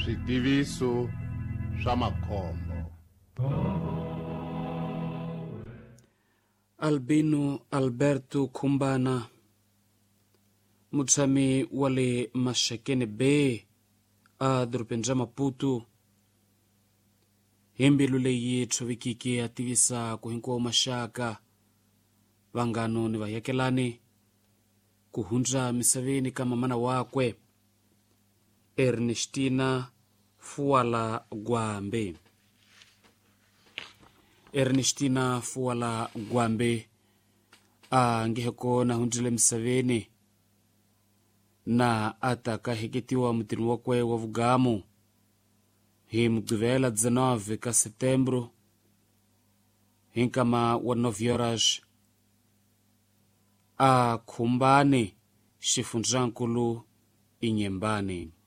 Switiviso swa makhombo. Albino Alberto Khumbana, mutshami wa le Maxakeni Bay a dorobeni ra Maputo, hi mbilu leyi tshovekeke a tivisa ku hinkwawo maxaka, vanghano ni vayakelani ku hundza misaveni ka mamana wakwe Ernestina Fuala Gwambe. Ernestina Fuala Gwambe a nge he kona hundzile misaveni na a ta ka heketiwa mutini wakwe wa vugamu hi Mugqivela 19 ka Setembro hi nkama wa 9 horas a Khumbane, xifundzankulu Inyembane.